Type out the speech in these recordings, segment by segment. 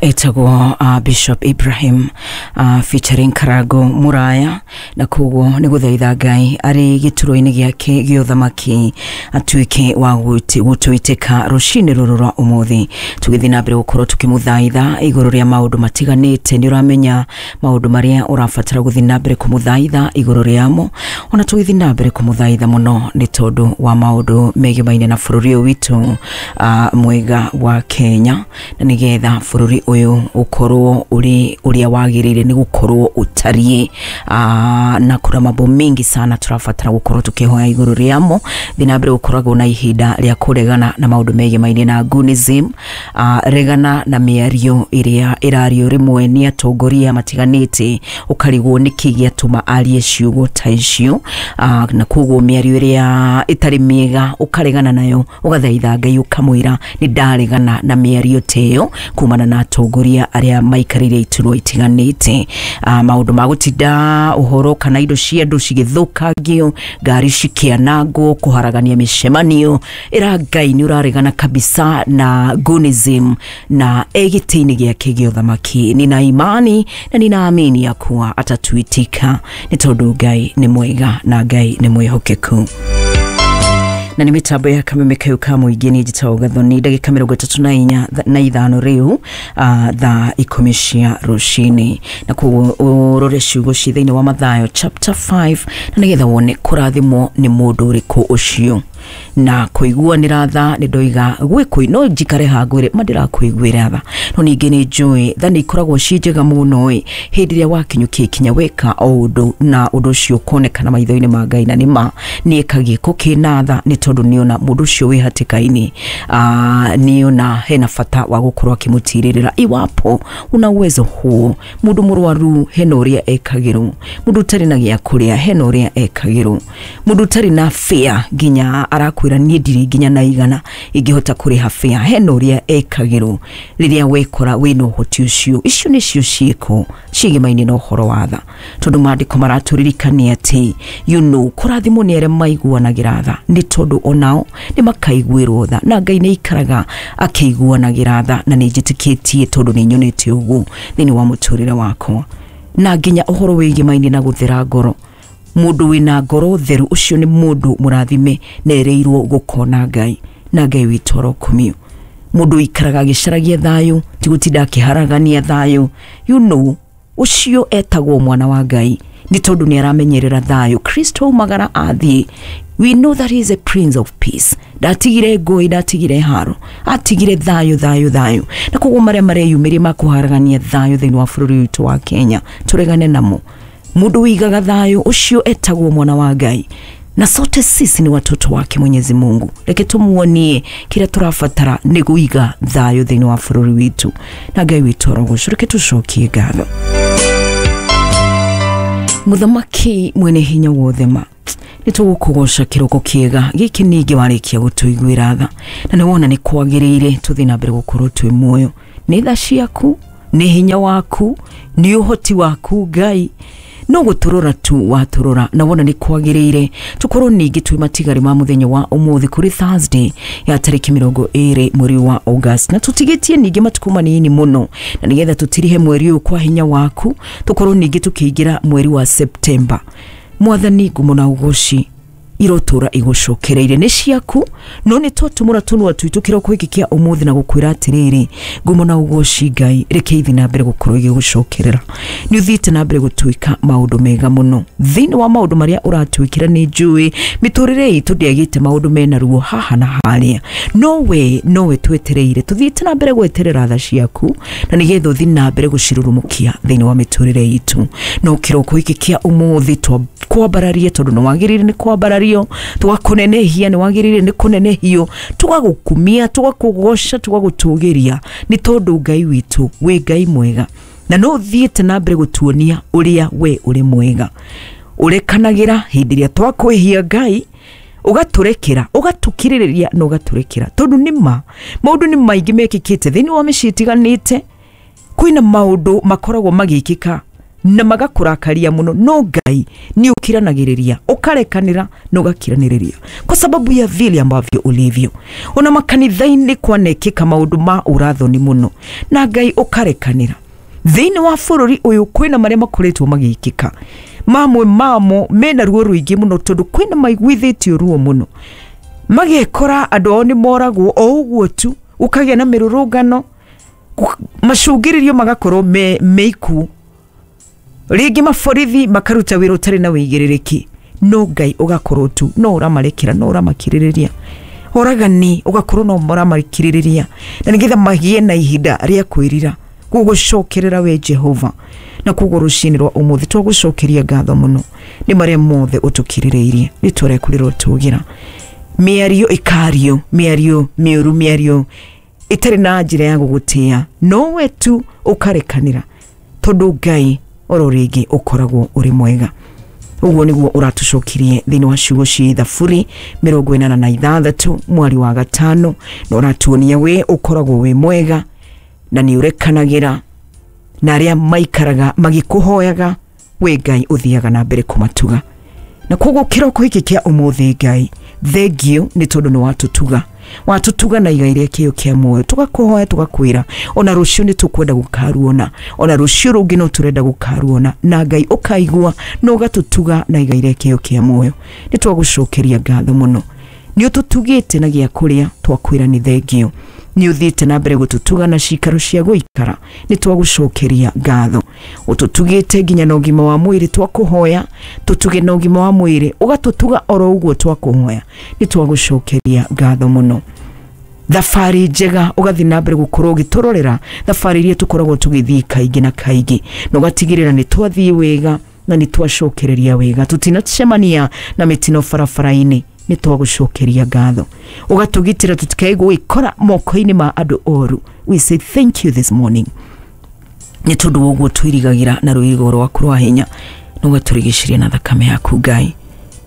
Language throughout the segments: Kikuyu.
Etagwo Bishop Ibrahim featuring Karago Muraya, na koguo nĩ gũthaitha Ngai arĩ gĩturwa-inĩ gĩake gĩa ũthamaki atuĩke wa gũtwĩtĩka rũcinĩ rũrũ rwa ũmũthĩ, tũgĩthiĩ na mbere gũkorwo tũkĩmũthaitha igũrũ rĩa maũndũ matiganĩte. Nĩ ũramenya maũndũ marĩa ũrabatara gũthiĩ na mbere kũmũthaitha igũrũ rĩamo, ona tũgĩthiĩ na mbere kũmũthaitha mũno nĩ tondũ wa maũndũ megimaine na bũrũri ũyũ witũ mwega wa Kenya, na nĩgetha bũrũri ũyũ ũkorwo ũrĩ ũrĩa wagĩrĩire nĩ gũkorwo ũtariĩ. Na kuna mambo mengi sana tũrabatara gũkorwo tũkĩhoya igũrũ rĩamo. Thiĩ na mbere gũkoragwo na ihinda rĩa kũregana na maũndũ megimaine na Gunism. Regana na mĩario ĩrĩa ĩrario rĩmwe nĩ atongoria matiganĩte, ũkarigwo nĩkĩ gĩatũma arie ciugo ta icio. Na koguo mĩario ĩrĩa ĩtarĩ mĩega ũkaregana nayo, ũgathaitha Ngai ũkamwĩra nĩ ndaregana na mĩario ta ĩyo kumana na atongoria arĩa maikarĩire iturwa itiganĩte. Maũndũ ma gũtinda ũhoro kana indo cia andũ cigĩthũkangio, ngari cikĩanangwo, kũharagania mĩcemanio, ĩra Ngai nĩ ũraregana kabisa na Gunism na e gĩtĩ-inĩ gĩake gĩa ũthamaki. Nina imani na ninaamini ya kuwa atatuitika nĩ tondũ Ngai nĩ mwega na Ngai nĩ mwĩhokeku. Na nĩ mĩtambo ya Kameme Kayo ka mũingĩ, nĩ njĩtagwo Gathoni. Ndagĩka 34 na 5 rĩu thaa 10 cia rũcinĩ, na koguo ũrore ciugo ci thĩinĩ wa Mathayo chapter 5, na nĩgetha wone kũrathimwo nĩ mũndũ ũrĩkũ ũcio na kũiguanĩra tha. Nĩ ndoiga gwĩ no njikare hangwĩre ma ndĩrakũiguĩra tha, no ningĩ nĩ njũĩ tha nĩ ikoragwo ciĩ njega mũno ĩ hĩndĩ ĩrĩa wakinyũkia ikinya weka o ũndũ na ũndũ ũcio ũkonekana maitho-inĩ ma Ngai, na nĩ ma nĩ eka gĩko kĩna tha, nĩ tondũ nĩona mũndũ ũcio wĩ hatĩka-inĩ, nĩona hena bata wa gũkorwo akĩmũtirĩrĩra iwapo una uwezo huo. Mũndũ mũrwaru hena ũrĩa ekagĩrwo, mũndũ ũtarĩ na gĩa kũrĩa hena ũrĩa ekagĩrwo, mũndũ ũtarĩ na fare nginya arakwĩra niĩ ndirĩ nginya na 100 ingĩhota kũrĩha fare, hena ũrĩa ekagĩrwo rĩrĩa wekora wĩna ũhoti ũcio. Icio nĩcio ciĩko ciĩgemaine na ũhoro wa tha, tondũ maandĩko maratũririkania atĩ kũrathimwo nĩ arĩa maiguanagĩra tha, nĩ tondũ onao nĩ makaiguĩrwo tha. Na Ngai nĩ aikaraga akĩiguanagĩra tha, na nĩ njĩtĩkĩtie tondũ nĩ nyonete ũguo thĩinĩ wa mũtũrĩre wakwa. Na nginya ũhoro wĩgemaine na gũthera ngoro, mũndũ wĩna ngoro theru ũcio nĩ mũndũ mũrathime na erĩirwo gũkona Ngai, na Ngai witũ arokumio. Mũndũ ũikaraga agĩcaragia thayũ, ti gũtinda akĩharagania thayũ, ũcio etagwo mwana wa Ngai, nĩ tondũ nĩ aramenyerera thayũ. Kristo aumagara athiĩ, we know that he is a prince of peace. Ndatigire ngũĩ, ndatigire haro, atigire thayũ, thayũ, thayũ. Na koguo marĩa mareyumĩria ma kũharagania thayũ thĩinĩ wa bũrũri witũ wa Kenya, tũregane namo. Mũndũ ũigaga thayũ ũcio etagwo mwana wa Ngai, na sote sisi ni watoto wake Mwenyezi Mungu. Reke tumuonie kĩrĩa tũrabatara nĩ kũiga thayũ thĩinĩ wa bũrũri witũ, na Ngai witũ arogocwo. Reke tũcokie ngatho. Mũthamaki mwene hinya wothe, ma nĩ tũgũkũgoca kĩroko kĩega gĩkĩ ningĩ warĩkia gũtũiguĩra tha, na nĩ wona nĩ kwagĩrĩire tũthiĩ na mbere gũkorwo twĩ muoyo. Nĩ tha ciaku, nĩ hinya waku, nĩ ũhoti waku Ngai, no gũtũrora tu watũrora na wona nĩ kwagĩrĩire tũkorwo ningĩ twĩ matigari ma mũthenya wa ũmũthĩ, kũrĩ Thursday ya tarĩki 20 mweri wa August, na tũtigĩtie ningĩ matukũ manini mũno na nĩgetha tũtirihe mweri ũyũ kwa hinya waku, tũkorwo ningĩ tũkĩingĩra mweri wa September. Mwathani, ngumo na ũgoci irotũra igũcokereire nĩ ciaku, no nĩ twatũmũra tũnua twitũ kĩroko gĩkĩ kĩa ũmũthĩ na gũkwĩra atĩrĩrĩ, ngumo na ũgoci Ngai reke ithi na mbere gũkorwo igĩgũcokerera. Nĩ ũthiĩte na mbere gũtuĩka maũndũ mega mũno. Thĩinĩ wa maũndũ marĩa ũratwĩkĩra, nĩ njũĩ mĩtũrĩre itũ ndĩagĩte maũndũ mena ruo haha na harĩa, no we nowe twetereire, tũthiĩte na mbere gweterera tha ciaku na nĩgetha ũthiĩ na mbere gũcirurumũkia thĩinĩ wa mĩtũrĩre itũ. No kĩroko gĩkĩ kĩa ũmũthĩ twambararie, tondũ nĩ wagĩrĩire nĩ kwambarario, tũgakũnenehia, nĩ wagĩrĩire nĩ kũnenehio, tũgagũkumia, tũgakũgoca, tũgagũtũgĩria, nĩ tondũ Ngai witũ wĩ Ngai mwega, na no ũthiĩte na mbere gũtuonia ũrĩa we ũrĩ mwega. Ũrekanagĩra hĩndĩ ĩrĩa twakwĩhia Ngai, ũgatũrekera, ũgatũkirĩrĩria na ũgatũrekera, tondũ nĩ ma maũndũ nĩ maingĩ mekĩkĩte thĩinĩ wa mĩciĩ ĩtiganĩte. Kwĩna maũndũ makoragwo magĩkĩka na magakũrakaria mũno, no Ngai nĩ ũkiranagĩrĩria, ũkarekanĩra na ũgakiranĩrĩria kwa sababu ya vile ambavyo ulivyo. Ona makanitha-inĩ kwanekĩka maũndũ ma ũrathoni mũno, na Ngai ũkarekanĩra. Thĩinĩ wa bũrũri ũyũ kwĩna marĩa makoretwo magĩkĩka, mamwe mamo mena ruo rũingĩ mũno, tondũ kwĩna maiguithĩtio ruo mũno, magekora andũ ao nĩ moragwo o ũguo tu, gũkagĩa na mĩrũrũngano, macũngĩrĩrio magakorwo me ikuũ, rĩngĩ maborithi makaruta wĩra ũtarĩ na wĩigĩrĩrĩki, no Ngai ũgakorwo tu no ũramarekera, no ũramakirĩrĩria. Oragani ũgakorwo no ũramakirĩrĩria, na nĩgetha magĩe na ihinda rĩa kwĩrira gũgũcokerera we Jehova. Na koguo rũcinĩ rwa ũmũthĩ twagũcokeria ngatho mũno nĩ marĩa mothe ũtũkirĩrĩirie, rĩtwa rĩaku rĩrotũgĩra. Mĩario ĩkario, mĩario mĩũru, mĩario ĩtarĩ na njĩra ya gũgũtĩa, no we tu ũkarekanĩra, tondũ Ngai oro rĩngĩ ũkoragwo ũrĩ mwega. Ũguo nĩguo ũratũcokirie thĩinĩ wa ciugo cia Thaburi 86 mwari wa 5, na ũratuonia we ũkoragwo wĩ mwega na nĩ ũrekanagĩra na arĩa maikaraga magĩkũhoyaga, we Ngai ũthiaga na mbere kũmatuga. Na koguo kĩroko gĩkĩ kĩa ũmũthĩ Ngai, thengio nĩ tondũ nĩ watũtuga, watũtuga na igai rĩa kĩo kĩa muoyo. Tũgakũhoya tũgakwĩra ona rũciũ nĩ tũkwenda gũkaruona, ona rũciũ rũngĩ no tũrenda gũkaruona, na Ngai ũkaigua na ũgatũtuga na igai rĩa kĩo kĩa muoyo. Nĩ twagũcokeria ngatho mũno, nĩ ũtũtugĩte na gĩa kũrĩa, twakwĩra nĩ thengio. Nĩ ũthiĩte na mbere gũtũtuga na cikaro cia gũikara, nĩ twagũcokeria ngatho. Ũtũtugĩte nginya na ũgima wa mwĩrĩ, twakũhoya tũtuge na ũgima wa mwĩrĩ, ũgatũtuga oro ũguo twakũhoya, nĩ twagũcokeria ngatho mũno. Thabarĩ njega ũgathiĩ na mbere gũkorwo ũgĩtũrorera thabarĩ iria tũkoragwo tũgĩthiĩ kaingĩ na kaingĩ, na ũgatigĩrĩra nĩ twathiĩ wega na nĩ twacokereria wega, tũtinacemania na mĩtino barabara-inĩ, nĩ twagũcokeria ngatho. Ũgatũgitĩra tũtikae gwĩkora moko-inĩ ma andũ oru. We say thank you this morning nĩ tondũ wa ũguo twĩrigagĩra na rũirigo rwaku rwa hinya, na ũgatũrigicĩria na thakame yaku Ngai,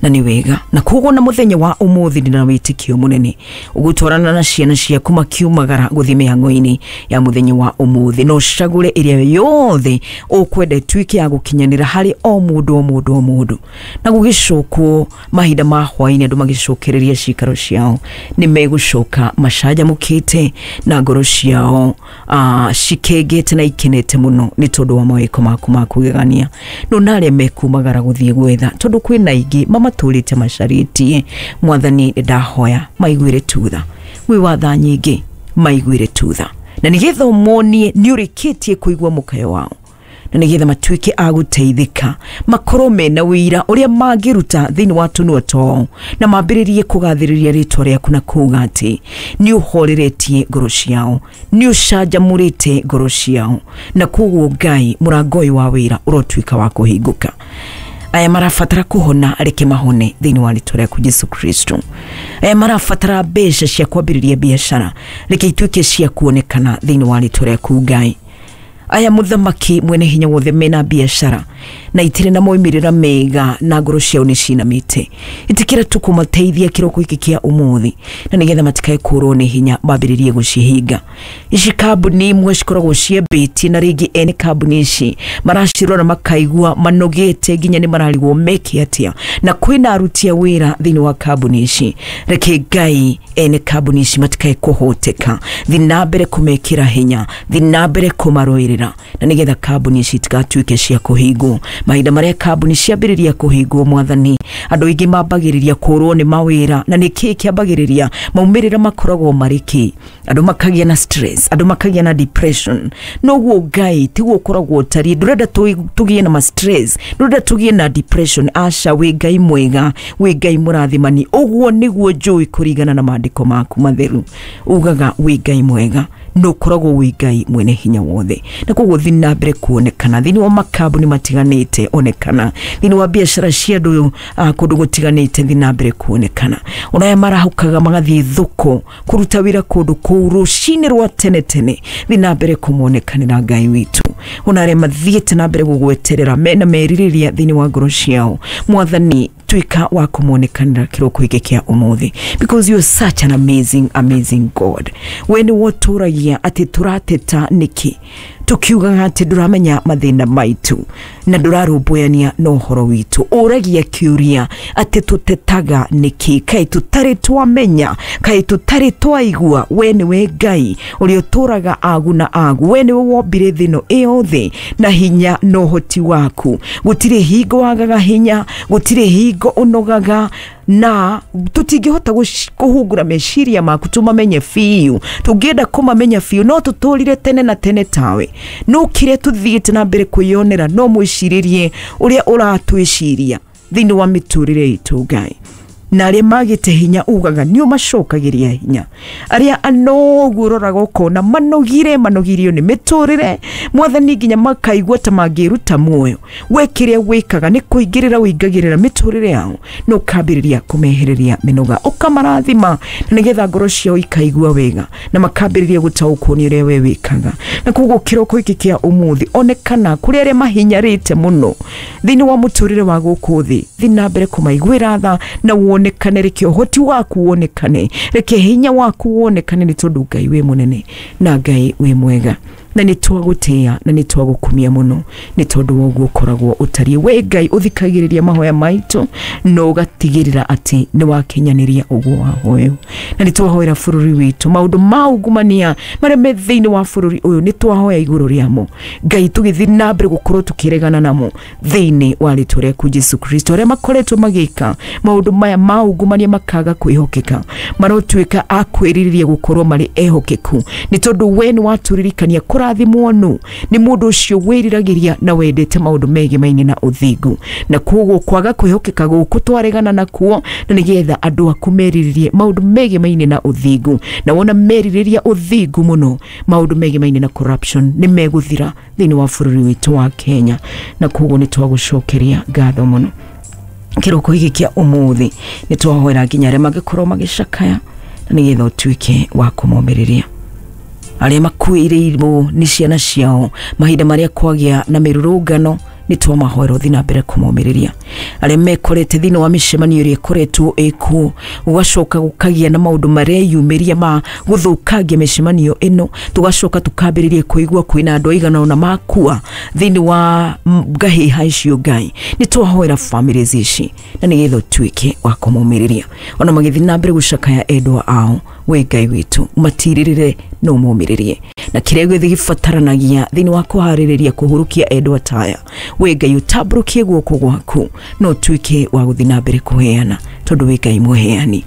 na nĩ wega. Na koguo na mũthenya wa ũmũthĩ ndĩna wĩtĩkio mũnene ũgũtwarana na ciana ciaku makiumagara gũthiĩ mĩhang'o-inĩ ya mũthenya wa ũmũthĩ, na ũcagũre ĩrĩa yothe ũkwenda ĩtuĩke ya gũkinyanĩra harĩ o mũndũ o mũndũ o mũndũ. Na gũgĩcokwo mahinda ma hwaĩ-inĩ andũ magĩcokereria cikaro ciao, nĩ megũcoka macanjamũkĩte na ngoro ciao cikengete na ikenete mũno nĩ tondũ wa mawĩko maku ma kũgegania. No na arĩa mekumagara gũthiĩ gwetha, tondũ kwĩna aingĩ mamatũrĩte macarĩtie, Mwathani ndahoya maiguĩre tutha, wĩ watha nyingĩ maiguĩre tutha, na nĩgetha ũmonie nĩ ũrĩkĩtie kũigua mũkayo wao, na nĩgetha matuĩke a gũteithĩka, makorwo mena wĩira ũrĩa mangĩruta thĩinĩ wa tũnua twao, na mambĩrĩrie kũgathĩrĩria rĩtwa rĩaku na kuuga atĩ nĩ ũhoreretie ngoro ciao, nĩ ũcanjamũrĩte ngoro ciao, na koguo Ngai mũrango ũyũ wa wĩra ũrotuĩka wa kũhingũka. Aya marabatara kũhona, reke mahone thĩinĩ wa rĩtwa rĩaku Jesu Kristo. Aya marabatara mbeca cia kwambĩrĩria biacara, reke ituĩke cia kuonekana thĩinĩ wa rĩtwa rĩaku Ngai. Aya mũthamaki mwene hinya wothe mena biacara na itirĩ na moimĩrĩra mega na ngoro ciao nĩ cinamĩte, ĩtĩkĩra tu kũmateithia kĩroko gĩkĩ kĩa ũmũthĩ, na nĩgetha matikae kũrwo nĩ hinya mambĩrĩrie gũcihinga. Ici kambuni imwe cikoragwo ciambĩtie, na rĩngĩ ene kambuni ici maracirora makaigua manogete nginya nĩ mararigwo meke atĩa, na kwĩna aruti a wĩra thĩinĩ wa kambuni ici. Reke Ngai ene kambuni ici matikae kũhoteka, thiĩ na mbere kũmekĩra hinya, thiĩ na mbere kũmarũĩrĩra, na nĩgetha kambuni ici itigatuĩke cia kũhingwo. Mahinda marĩa kambuni ciambĩrĩria kũhingwo, Mwathani, andũ aingĩ mambagĩrĩria kũrwo nĩ mawĩra, na nĩkĩĩ kĩambagĩrĩria maumĩrĩra makoragwo marĩ kĩ? Andũ makagĩa na stress, andũ makagĩa na depression. Noguo Ngai tiguo ũkoragwo ũtariĩ, ndũrenda tũgĩe na ma stress, ndũrenda tũgĩe na depression. Aca, wĩ Ngai mwega, wĩ Ngai mũrathimani. Ũguo nĩguo njũĩ kũringana na maandĩko maku matheru, ugaga wĩ Ngai mwega, na ũkoragwo wĩ Ngai mwene hinya wothe. Na koguo thiĩ na mbere kuonekana thĩinĩ wa makambuni matiganĩte, onekana thĩinĩ wa biacara cia andũ kũndũ gũtiganĩte, thiĩ na mbere kuonekana. Ona aya marahũkaga magathiĩ thoko kũruta wĩra kũndũ kũu rũcinĩ rwa tene tene, thiĩ na mbere kũmonekanĩra Ngai witũ. Ona arĩa mathiĩte na mbere gũgweterera mena merirĩria thĩinĩ wa ngoro ciao, Mwathani Tuĩka wa kũmonekanĩra kĩroko gĩkĩ kĩa ũmũthĩ, because you're such an amazing, amazing God. We nĩ wotũragia atĩ tũrateta nĩkĩ, tukiugaga atĩ ndũramenya mathĩna maitũ na ndũrarũmbũyania na ũhoro witũ. Ũragia kĩũria atĩ tũtetaga nĩkĩ, kaĩ tũtarĩ twamenya, kaĩ tũtarĩ twaigua? We nĩwe Ngai ũrĩa ũtũraga agu na agu. We nĩwe wombire thĩ ĩno ĩyothe na hinya na ũhoti waku. Gũtirĩ hingo wagaga hinya, gũtirĩ hingo ũnogaga, na tũtingĩhota kũhungura meciria maku tũmamenye biũ. Tũngĩenda kũmamenya biũ, no tũtũrire tene na tene tawe. No kĩrĩa tũthiĩte na mbere kwĩyonera, no mwĩcirĩrie ũrĩa ũratwĩciria thĩinĩ wa mĩtũrĩre itũ, Ngai. Na arĩa magĩte hinya, ugaga nĩ ũmacokagĩria hinya. Arĩa anogu, ũroraga ũkona manogire, manogirio nĩ mĩtũrĩre, Mwathani, nginya makaigua ta mangĩruta muoyo. We kĩrĩa wĩkaga nĩ kũingĩrĩra, ũingagĩrĩra mĩtũrĩre yao na ũkambĩrĩria kũmehereria mĩnoga, ũkamarathima na nĩgetha ngoro ciao ikaigua wega na makambĩrĩria gũtaũkwo nĩ ũrĩa we wĩkaga. Na koguo kĩroko gĩkĩ kĩa ũmũthĩ, onekana kũrĩ arĩa mahinyarĩte mũno thĩinĩ wa mũtũrĩre wa gũkũ thĩ. Thiĩ na mbere kũmaiguĩra tha na wonekane. Reke ũhoti waku wonekane, reke hinya waku wonekane, nĩ tondũ Ngai wĩ mũnene na Ngai wĩ mwega, na nĩ twagũtĩĩa na nĩ twagũkumia mũno nĩ tondũ wa ũguo ũkoragwo ũtariĩ. We Ngai ũthikagĩrĩria mahoya maitũ na ũgatigĩrĩra atĩ nĩ wakinyanĩria ũguo wahoywo. Na nĩ twahoera bũrũri witũ, maũndũ ma ungumania marĩa me thĩinĩ wa bũrũri ũyũ, nĩ twahoya igũrũ rĩamo, Ngai, tũgĩthiĩ na mbere gũkorwo tũkĩregana namo thĩinĩ wa rĩtwa rĩaku Jesu Kristo. Arĩa makoretwo magĩka maũndũ maya ma ungumania, makaga kwĩhokeka, marotuĩka a kwĩrirĩria gũkorwo marĩ ehokeku, nĩ tondũ we nĩ watũririkania kũrathimwo nũ nĩ mũndũ ũcio wĩriragĩria na wendete maũndũ megemaine na ũthingu. Na koguo kwaga kwĩhokeka gũkũ twaregana nakuo, na nĩgetha andũ aku merirĩrie maũndũ megemaine na ũthingu. Na wona merirĩria ũthingu mũno, maũndũ megemaine na corruption nĩ megũthira thĩinĩ wa bũrũri witũ wa Kenya. Na koguo nĩ twagũcokeria ngatho mũno kĩroko gĩkĩ kĩa ũmũthĩ. Nĩ twahoera nginya arĩa mangĩkorwo magĩcakaya, na nĩgetha ũtuĩke wa kũmomĩrĩria. Arĩa makuĩrĩirwo nĩ ciana ciao mahinda marĩa kwagĩa na mĩrũrũngano, nĩ twamahoera ũthiĩ na mbere kũmomĩrĩria. Arĩa mekorete thĩinĩ wa mĩcemanio ĩrĩa ĩkoretwo ĩkuo, gũgacoka gũkagĩa na maũndũ mareyumĩria ma gũthũkangia mĩcemanio ĩno, tũgacoka tũkambĩrĩria kũigua kwĩna andũ aigana ũna makua thĩinĩ wa ngahĩha icio, Ngai, nĩ twahoera families ici na nĩgetha ũtuĩke wa kũmomĩrĩria ona magĩthiĩ na mbere gũcakaya endwa ao. We Ngai witũ, matirĩrĩre no ũmomĩrĩrie na kĩrĩa gĩothe gĩbataranagia thĩinĩ wa kũharĩrĩria kũhurũkia endwa taya. We Ngai, ũtambũrũkie guoko gwaku na ũtuĩke wa gũthiĩ na mbere kũheana, tondũ wĩ Ngai mũheani.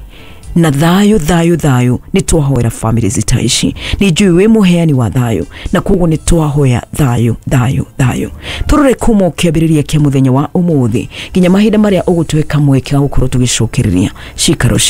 Na thayũ, thayũ, thayũ, nĩ twahoera families ta ici. Nĩ njũĩ wĩ mũheani wa thayũ, na koguo nĩ twahoya thayũ, thayũ, thayũ. Tũrore kuma kĩambĩrĩria kĩa mũthenya wa ũmũthĩ nginya mahinda marĩa ũgũtũhe kamweke ga gũkorwo tũgĩcokereria cikaro.